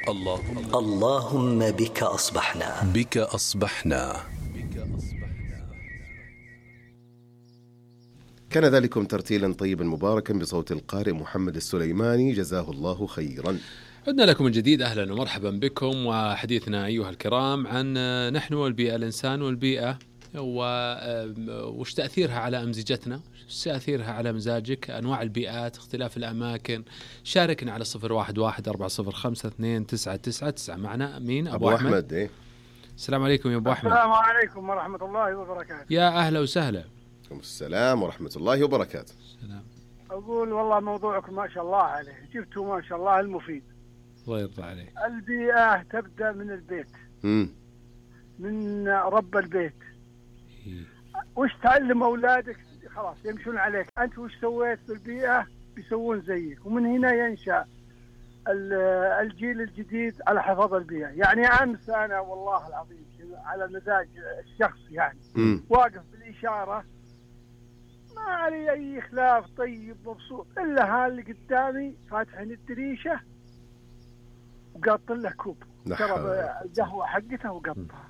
اللهم بك أصبحنا. كان ذلكم ترتيلا طيبا مباركا بصوت القارئ محمد السليماني، جزاه الله خيرا. عدنا لكم من جديد، أهلا ومرحبا بكم. وحديثنا أيها الكرام عن نحن والبيئة، الإنسان والبيئة، وش تأثيرها على أمزجتنا، وش تأثيرها على مزاجك، أنواع البيئات، اختلاف الأماكن. شاركنا على 0114052999. معنا مين؟ أبو أحمد. إيه؟ السلام عليكم يا أبو أحمد. السلام عليكم ورحمة الله وبركاته. يا أهلا وسهلا. السلام ورحمة الله وبركاته. السلام. أقول والله موضوعكم ما شاء الله عليه، جبتوا ما شاء الله المفيد. الله يرضى عليك. البيئة تبدأ من البيت، من رب البيت. وش تعلم أولادك خلاص يمشون عليك، أنت وش سويت في البيئة بيسوون زيك، ومن هنا ينشأ الجيل الجديد على حفظ البيئة. يعني أمس أنا والله العظيم على مزاج الشخص يعني واقف بالإشارة، ما علي أي خلاف، طيب مبسوط، إلا هاللي قدامي فاتحين الدريشة وقاط له كوب شرب القهوة حقته وقطها.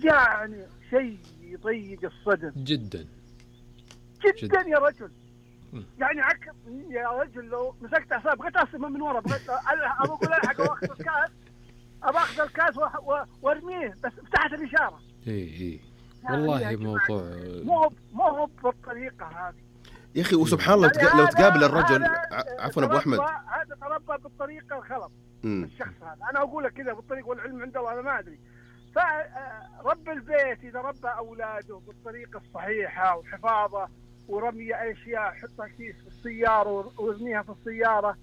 يعني شيء يضيق الصدر جدا جدا يا رجل. يعني يا رجل لو مسكت أعصاب بغيت أصمه من ورا، بغيت أقول ألحق وأخذ الكاس، أخذ الكاس وارميه، بس فتحت الإشارة. إيه والله يعني موضوع مو هو بالطريقة هذه يا أخي. وسبحان الله يعني لو تقابل الرجل، عفوا أبو أحمد، هذا تربى بالطريقة الخلط. الشخص هذا أنا أقول لك كذا بالطريقة، والعلم عند الله أنا ما أدري. فرب البيت إذا ربى أولاده بالطريقة الصحيحة وحفاظه ورمي أشياء، حطها كيس في السيارة وارميها في السيارة،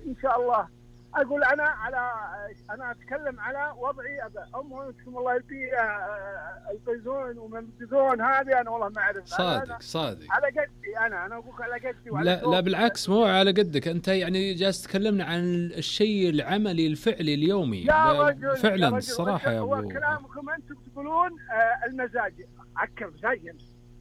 إن شاء الله. أقول أنا أتكلم على وضعي. أمهم الله البيئة القيزون ومنبذون هذه أنا والله ما أعرف. صادق على قدي أنا أقول على قدي. لا بالعكس، مو على قدك أنت، يعني جالس تكلمنا عن الشيء العملي الفعلي اليومي. يا رجل فعلا يا رجل الصراحة يا أبو. كلامكم أنتم تقولون المزاج عكر مزاجي.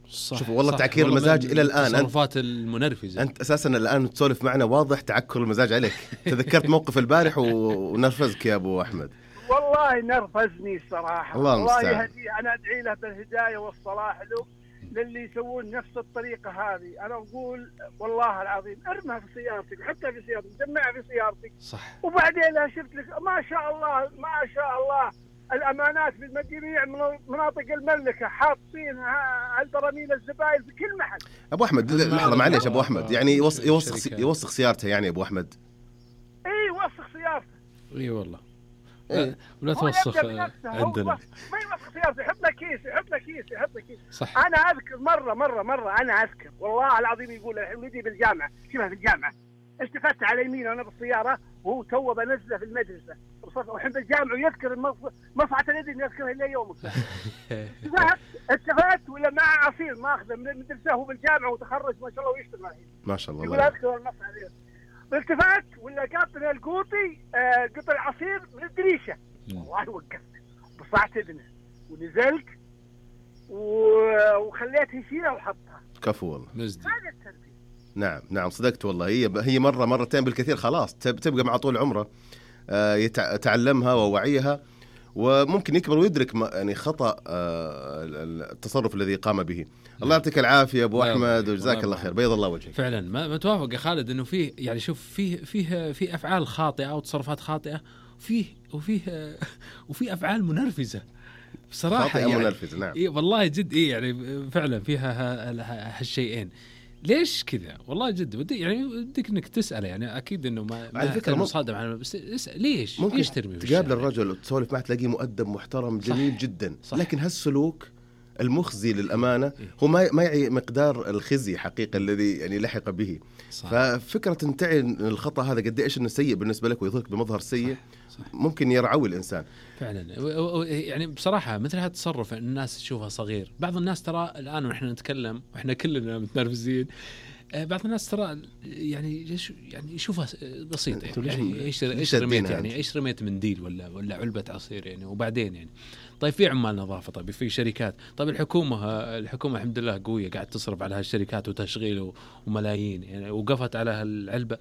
شوف والله تعكير المزاج إلى الآن، التصرفات المنرفزة. أنت أساسا الآن تسولف معنا واضح تعكر المزاج عليك. تذكرت موقف البارح ونرفزك يا أبو أحمد. والله نرفزني الصراحة. الله يهدي. أنا أدعي له بالهداية والصلاح له للي يسوون نفس الطريقة هذه. أنا أقول والله العظيم ارمها في سيارتك، حتى في سيارتك، جمعها في سيارتك. صح. وبعدين شفت لك ما شاء الله الأمانات في جميع مناطق المملكة حاطين البراميل الزبائن في كل محل. أبو أحمد لحظة معليش أبو أحمد، يعني يوسخ سيارته يعني أبو أحمد. إيه وسخ سيارته. إيه والله. ولا توسخ عندنا. ما يوسخ سيارته، يحط له كيس. صح. أنا أذكر مرة أنا أذكر والله العظيم، يقول الحين ولدي بالجامعة، شبه في الجامعة، التفت على يمينه وأنا بالسيارة وهو تو بنزله في المدرسة وحين بالجامعة، ويذكر مصعة اليد يذكرها إلى يومك. التفت ولا مع عصير ما أخذه من المدرسة وهو بالجامعة وتخرج ما شاء الله ويشتغل الحين. ما شاء الله. يقول أذكر المصعة اليد. التفت ولا قاطنا القوطي قطع عصير من الدريشة. والله وقفت بصعت ابنه ونزلت وخليته يشيلها وحطها. كفو والله. هذا التربية. نعم صدقت والله. هي مرتين بالكثير خلاص تبقى مع طول عمره. يتعلمها ووعيها، وممكن يكبر ويدرك يعني خطأ التصرف الذي قام به. الله يعطيك العافية أبو أحمد وجزاك الله خير، بيض الله وجهك. فعلا ما توافق يا خالد إنه فيه، يعني شوف فيه أفعال خاطئة وتصرفات خاطئة، وفيه أفعال منرفزة بصراحة، يعني منرفزة. نعم. إيه والله جد. إيه يعني فعلا فيها هالشيئين. ليش كذا؟ والله جد يعني ودك انك تساله، يعني اكيد انه ما على فكره مصادم على، بس اسال ليش ترمي؟ تقابل الرجل وتسولف معه تلاقيه مؤدب محترم جميل صح. جدا صح. لكن هالسلوك المخزي للامانه هو ما يعي مقدار الخزي حقيقه الذي يعني لحق به صح. ففكره تنتعي الخطا هذا قد ايش انه سيء بالنسبه لك ويظهرك بمظهر سيء صح. ممكن يرعوي الانسان فعلا. يعني بصراحه مثل هذا التصرف الناس تشوفها صغير. بعض الناس ترى الان ونحن نتكلم واحنا كلنا متنرفزين، بعض الناس ترى يعني يشوفها بسيطه، يعني ايش رميت، يعني ايش رميت منديل ولا علبه عصير يعني، وبعدين يعني طيب في عمال نظافة، طيب في شركات، طيب الحكومة الحمد لله قوية قاعد تصرف على هالشركات وتشغيل وملايين يعني، وقفت على هالعلبة.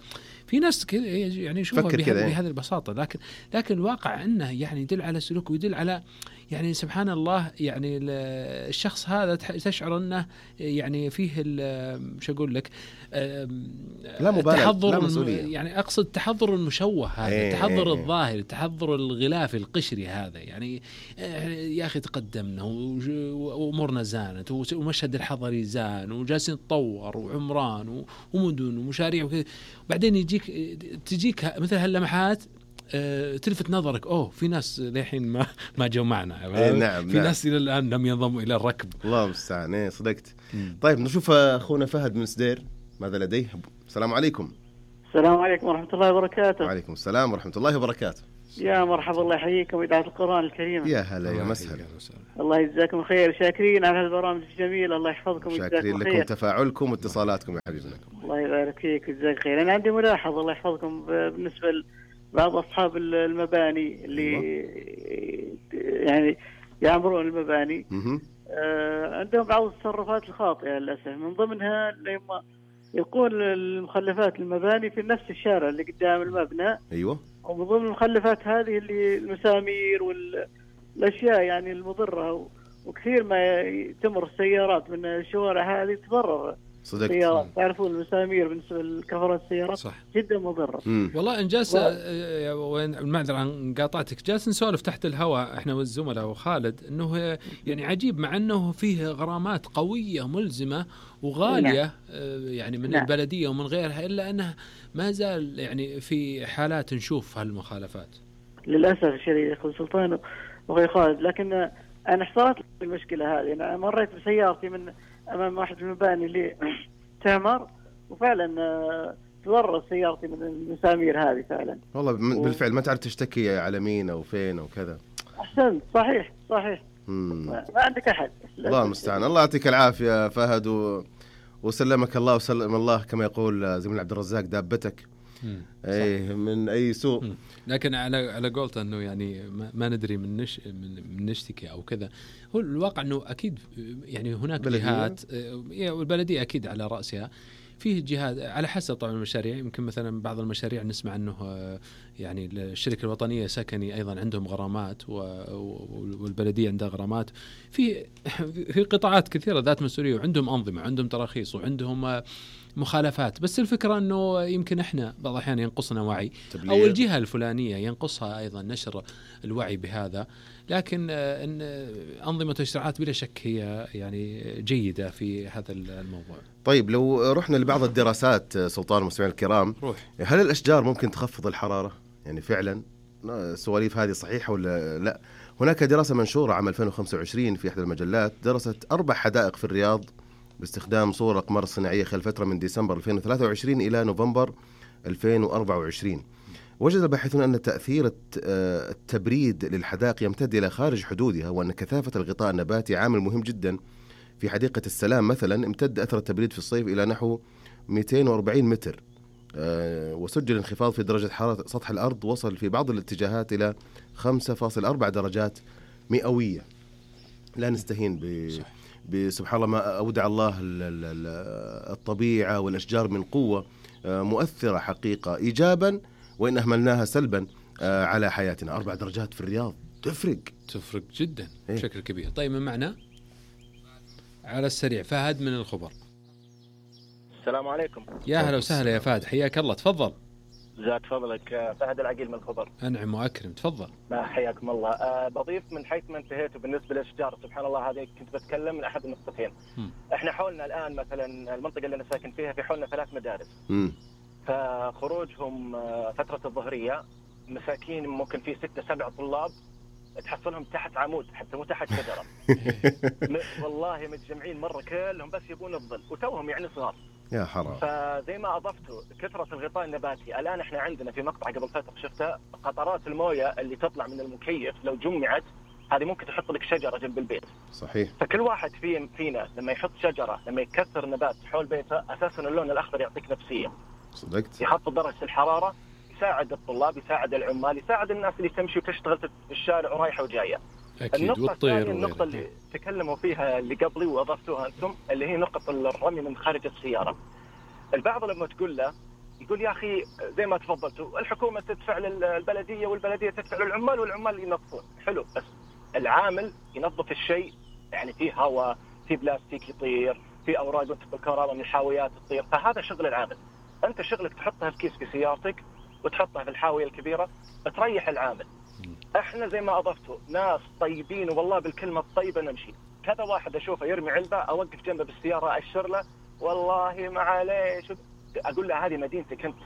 في ناس كذا يعني يشوفها بهذه البساطة، لكن الواقع أنه يعني يدل على سلوك ويدل على يعني سبحان الله يعني الشخص هذا تشعر أنه يعني فيه شو أقول لك لا مبالغة، تحضر لا مسؤولية. يعني أقصد تحضر المشوه هذا، تحضر الظاهر، تحضر الغلافي القشري هذا يعني. يا أخي تقدمنا وأمورنا زانت ومشهد الحضري زان وجالسين نتطور وعمران ومدن ومشاريع وكذا، بعدين تجيك مثل هاللمحات تلفت نظرك في ناس للحين ما جو معنا. نعم في ناس إلى الآن لم ينضموا إلى الركب. الله المستعان. صدقت. طيب نشوف أخونا فهد من سدير ماذا لديه. السلام عليكم. السلام عليكم ورحمة الله وبركاته. وعليكم السلام ورحمة الله وبركاته. يا مرحبا، الله يحييكم إذاعة القرآن الكريم. يا هلا يا مسهلا. الله يجزاكم خير، شاكرين على هالبرامج الجميلة، الله يحفظكم ويجزاكم خير. شاكرين لكم تفاعلكم واتصالاتكم يا حبيبنا. الله يبارك فيك ويجزاك خير. أنا عندي ملاحظة الله يحفظكم بالنسبة لبعض أصحاب المباني اللي يعني يعمرون المباني، عندهم بعض التصرفات الخاطئة للأسف، من ضمنها لما يقول المخلفات المباني في نفس الشارع اللي قدام المبنى. أيوة. ومن ضمن المخلفات هذه اللي المسامير والأشياء يعني المضرة، وكثير ما تمر السيارات من الشوارع هذه تضرر. صدقت. تعرفون المسامير بالنسبة لكفرات السيارات صح. جدا مضرة. والله إنجاز وين المعذرة عن قاطعتك، جالس نسولف تحت الهواء إحنا والزملاء وخالد إنه يعني عجيب مع إنه فيه غرامات قوية ملزمة وغالية يعني من البلدية ومن غيرها، إلا أنه ما زال يعني في حالات نشوف هالمخالفات للأسف الشديد أخو سلطان وأخوي خالد. لكن أنا حصلت المشكلة هذه، أنا مريت بسيارتي من أمام واحد المباني اللي تعمر، وفعلا تضرر سيارتي من المسامير هذه فعلا. والله بالفعل ما تعرف تشتكي على مين أو فين أو كذا. أحسنت. صحيح. ما عندك أحد. الله المستعان. الله يعطيك العافية فهد وسلمك الله وسلم الله كما يقول زميل عبد الرزاق دابتك من أي سوء. لكن على قولته أنه يعني ما ندري من نشتكي أو كذا. هو الواقع أنه أكيد يعني هناك جهات والبلدية أكيد على رأسها، فيه جهات على حسب طبعا المشاريع. يمكن مثلا بعض المشاريع نسمع أنه يعني الشركة الوطنية سكني أيضا عندهم غرامات والبلدية عندها غرامات. في قطاعات كثيرة ذات مسؤولية وعندهم أنظمة، عندهم تراخيص وعندهم مخالفات. بس الفكرة أنه يمكن إحنا بعض الأحيان ينقصنا وعي أو الجهة الفلانية ينقصها أيضا نشر الوعي بهذا. لكن إن أنظمة التشريعات بلا شك هي يعني جيدة في هذا الموضوع. طيب لو رحنا لبعض الدراسات سلطان المستمعين الكرام، هل الأشجار ممكن تخفض الحرارة؟ يعني فعلا السواليف هذه صحيحة ولا لا؟ هناك دراسة منشورة عام 2025 في إحدى المجلات درست 4 حدائق في الرياض باستخدام صور أقمار صناعية خلال فترة من ديسمبر 2023 إلى نوفمبر 2024. وجد الباحثون أن تأثير التبريد للحدائق يمتد إلى خارج حدودها، وأن كثافة الغطاء النباتي عامل مهم جدا. في حديقة السلام مثلا امتد أثر التبريد في الصيف إلى نحو 240 متر، وسجل انخفاض في درجة حرارة سطح الأرض وصل في بعض الاتجاهات إلى 5.4 درجات مئوية. لا نستهين بسبحان الله ما أودع الله الطبيعة والأشجار من قوة مؤثرة حقيقة إيجابا، وإن أهملناها سلبا على حياتنا. 4 درجات في الرياض تفرق جدا بشكل كبير. طيب من معنا على السريع فهد من الخبر. السلام عليكم. يا هلا وسهلا يا فهد، حياك الله. تفضل. زاد فضلك. فهد العقيل من الخبر. أنعم وأكرم. تفضل. حياكم الله. بضيف من حيث ما انتهيت بالنسبة للأشجار. سبحان الله هذه كنت بتكلم من أحد النقطتين. احنا حولنا الآن مثلا المنطقة اللي أنا ساكن فيها في حولنا 3 مدارس. فخروجهم فترة الظهرية مساكين ممكن في 6-7 طلاب تحصلهم تحت عمود حتى مو تحت شجرة. والله متجمعين مرة كلهم بس يبون الظل وتوهم يعني صغار. يا حرام. فزي ما أضفتوا كثرة الغطاء النباتي، الآن إحنا عندنا في مقطع قبل فترة شفتها قطرات الموية اللي تطلع من المكيف لو جمعت هذه ممكن تحط لك شجرة جنب البيت. صحيح. فكل واحد فينا لما يحط شجرة، لما يكثر نبات حول بيته، أساسا اللون الأخضر يعطيك نفسية. صدقت. يخفض درجة الحرارة، يساعد الطلاب، يساعد العمال، يساعد الناس اللي تمشي وتشتغل في الشارع ورايحة وجاية. النقطة الثانية، النقطة اللي تكلموا فيها اللي قبلي وأضفتوها أنتم، اللي هي نقطة الرمي من خارج السيارة. البعض لما تقول له يقول يا أخي زي ما تفضلتوا الحكومة تدفع للبلدية والبلدية تدفع للعمال والعمال ينظفون، حلو، بس العامل ينظف الشيء يعني فيه هواء، فيه بلاستيك يطير، فيه أوراق وانتقل كهرباء من الحاويات تطير، فهذا شغل العامل. أنت شغلك تحطها في كيس في سيارتك وتحطها في الحاوية الكبيرة تريح العامل. احنا زي ما اضفتوا ناس طيبين والله بالكلمه الطيبه نمشي. كذا واحد اشوفه يرمي علبه اوقف جنبه بالسياره اشر له والله ما عليه، اقول له هذه مدينتك انت،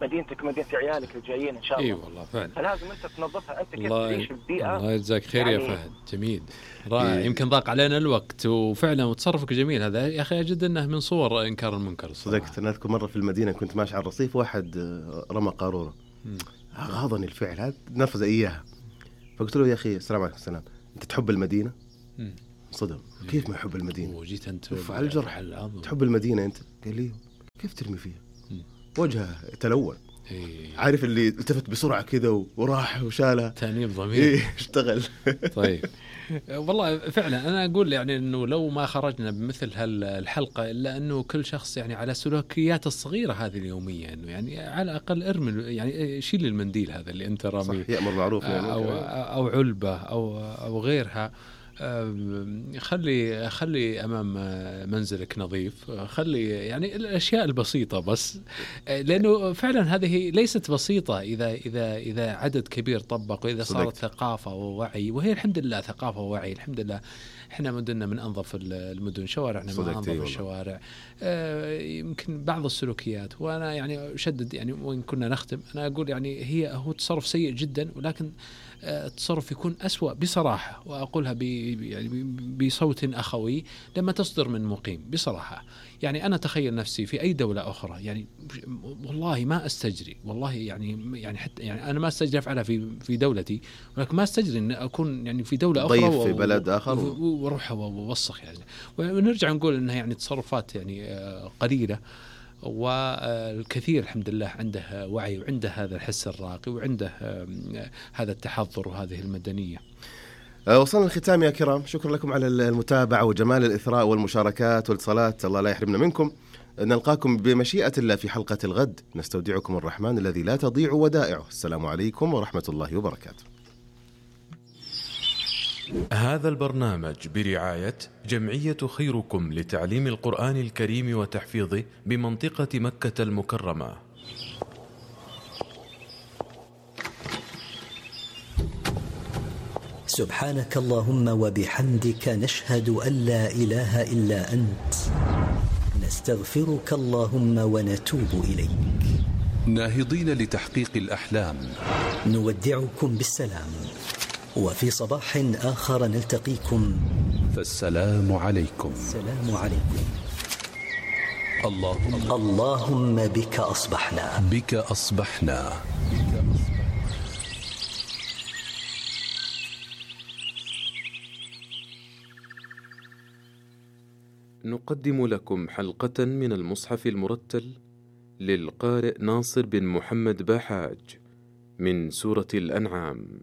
مدينتك ومدينه عيالك الجايين ان شاء الله. اي والله فعلا، فلازم انت تنظفها. انت كيف تعيش البيئه. الله يجزاك خير يعني يا فهد، جميل رائع. يمكن ضاق علينا الوقت وفعلا وتصرفك جميل هذا يا اخي، اجد انه من صور انكار المنكر. صدقت. انا اذكر مره في المدينه كنت ماشي على الرصيف، واحد رمى قاروره، غاضني الفعل هذا، نرفز اياها. فقلت له يا اخي السلام عليكم. السلام، انت تحب المدينه؟ صدم، كيف ما يحب المدينه؟ وجيت انت على الجرح، تحب المدينه انت؟ قال لي كيف ترمي فيها؟ وجهه تلون. عارف اللي التفت بسرعه كذا وراح وشالها. تأنيب ضمير. اشتغل. طيب والله فعلا انا اقول يعني انه لو ما خرجنا بمثل هالحلقه الا انه كل شخص يعني على سلوكياته الصغيره هذه اليوميه، انه يعني على الاقل ارمي، يعني شيل المنديل هذا اللي انت راميه، يأمر معروف يعني او علبه او غيرها. خلي أمام منزلك نظيف، خلي يعني الأشياء البسيطة بس، لأنه فعلا هذه ليست بسيطة إذا عدد كبير طبق، وإذا صارت ثقافة ووعي، وهي الحمد لله ثقافة ووعي الحمد لله. إحنا مدننا من أنظف المدن، شوارعنا من أنظف الشوارع. يمكن بعض السلوكيات، وأنا يعني أشدد يعني وإن كنا نختم، أنا أقول يعني هو تصرف سيء جدا، ولكن التصرف يكون أسوأ بصراحة، وأقولها يعني بصوت أخوي لما تصدر من مقيم بصراحة. يعني أنا تخيل نفسي في أي دولة أخرى، يعني والله ما أستجري، والله يعني حتى يعني أنا ما أستجري أفعلها في دولتي، ولكن ما أستجري أن أكون يعني في دولة أخرى ضيف في بلد آخر وأروح ووسخ يعني. ونرجع نقول أنها يعني تصرفات يعني قليلة، والكثير الحمد لله عنده وعي وعنده هذا الحس الراقي وعنده هذا التحضر وهذه المدنية. وصلنا الختام يا كرام، شكرا لكم على المتابعة وجمال الإثراء والمشاركات والاتصالات، الله لا يحرمنا منكم. نلقاكم بمشيئة الله في حلقة الغد، نستودعكم الرحمن الذي لا تضيع ودائعه. السلام عليكم ورحمة الله وبركاته. هذا البرنامج برعاية جمعية خيركم لتعليم القرآن الكريم وتحفيظه بمنطقة مكة المكرمة. سبحانك اللهم وبحمدك، نشهد أن لا إله إلا أنت، نستغفرك اللهم ونتوب إليك. ناهضين لتحقيق الأحلام، نودعكم بالسلام، وفي صباح آخر نلتقيكم، فالسلام عليكم. السلام عليكم. اللهم بك أصبحنا، بك أصبحنا. نقدم لكم حلقة من المصحف المرتل للقارئ ناصر بن محمد باحاج من سورة الأنعام.